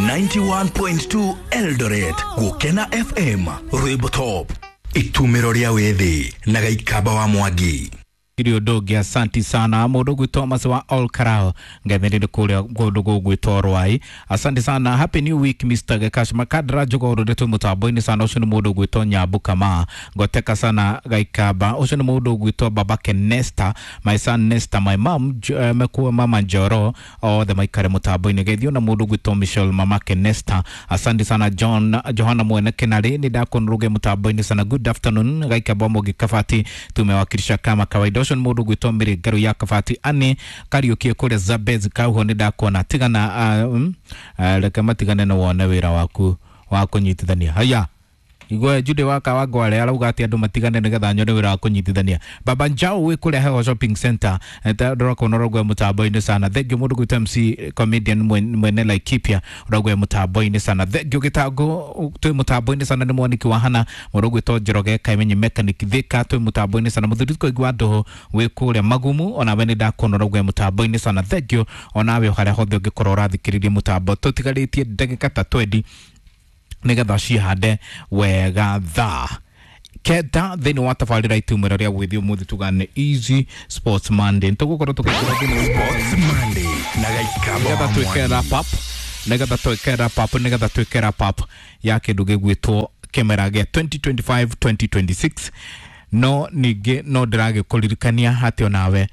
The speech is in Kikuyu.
91.2 Eldoret, Gukena FM, Rwimbo Top, itumiro ria withi na Gaikamba wa Mwangi. Iri ũndũ ũngĩ, asanti sana mũndũ ũgwĩtwo Thomas wa All Karao ngetherire kũrĩa kũndũ gũgwĩtwo Rwai. Asante sana, happy new week, Mr. Gekash Makadra Njogoro ndetwo mũtambo-inĩ sana. Ũcio nĩ mũndũ ũgwĩtwo Nyambu Kama ngoteka sana Gaikamba. Ũcio nĩ mũndũ ũgwĩtwo babake Nesta, my son Nesta, my mom mekuwa mama Njoro, othe maikare mũtambo-inĩ geithio na mũndũ ũgwĩtwo Michelle mamake Nesta. Asante sana John Johana Mwene Kenari, nĩ ndakuona mũtambo-inĩ sana. Good afternoon, Gaikamba Mwangi Kabati, tumewakilisha kama kawaida. Ũcio nĩ mũndũ ũgwĩtwo Mary Ngaru ya Kabati ani Kariuki kũrĩa Zabez Kauho, nĩ ndakuona tigana reke matigane na wone wĩra waku wa kũnyitithania. Haya, igwe Jude waka wa Ngwale arauga atĩ andũ matigane nĩgetha nyone wĩra wa kũnyitithania. Baba Njau wĩ kũrĩa Heho Shopping Center, ndĩrakuona ũraugua mũtambo-inĩ sana. Thank you mũndũ gwĩtwo MC comedian mwene Laikipia, ũraugua mũtambo-inĩ sana. Thank you Gĩtango, twĩ mũtambo-inĩ sana. Nĩ mwaniki wa hana mũndũ gwĩtwo Njoroge Kaimenyi mechanic Thika, twĩ mũtambo-inĩ sana. Mũthuri Koigua Ndũhũ wĩ kũrĩa Magumu, onawe nĩ ndakuona ũraugua mũtambo-inĩ sana. Thank you onawe harĩa hothe ũngĩkorwo ũrathikĩrĩria mũtambo. Tũtigarĩtie ndagĩka ta 20 nigetha cihande wega thaa 9 thĩinĩ wa tabarĩra itumĩro rĩa gwĩthi ũmũthĩ tugane Easy Sports Monday tũgũkorwo tũkĩingĩra thĩinĩ wa Sports Monday na Gaikamba nigetha wa twĩke Mwangi. wrap up, nigetha twĩke wrap up, nigetha twĩke wrap up ya kĩndũ gĩgwĩtwo kĩmera gĩa 2025 2026. No ningĩ no ndĩragĩkũririkania atĩ onawe